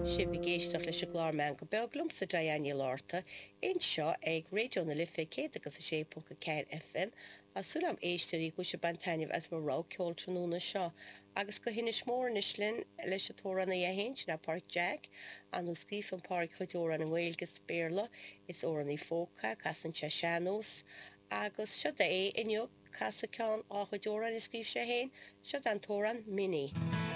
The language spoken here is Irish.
Sibh ag éisteacht leis an gclár Meangadh Beag liomsa Diane Ní Fhlatharta anseo ag Raidió na Life 106.4 FM. Tá súil agam éisteoirí go bhfuil sibh ag baint taitneamh as mo rogha ceoil tráthnóna seo. Agus go hInis Mór anois linn leis an t-amhránaí é féin, sin é Páraic Jack. Ar ndóigh scríobhann Páraic a chuid amhrán i nGaeilge is Béarla. Is amhránaí folk é, casann sé sean-nós. Agus seo é inniu. Casadh ceann dá chuid amhráin a scríobh sé féin, seo an t-amhrán 'Minnie'.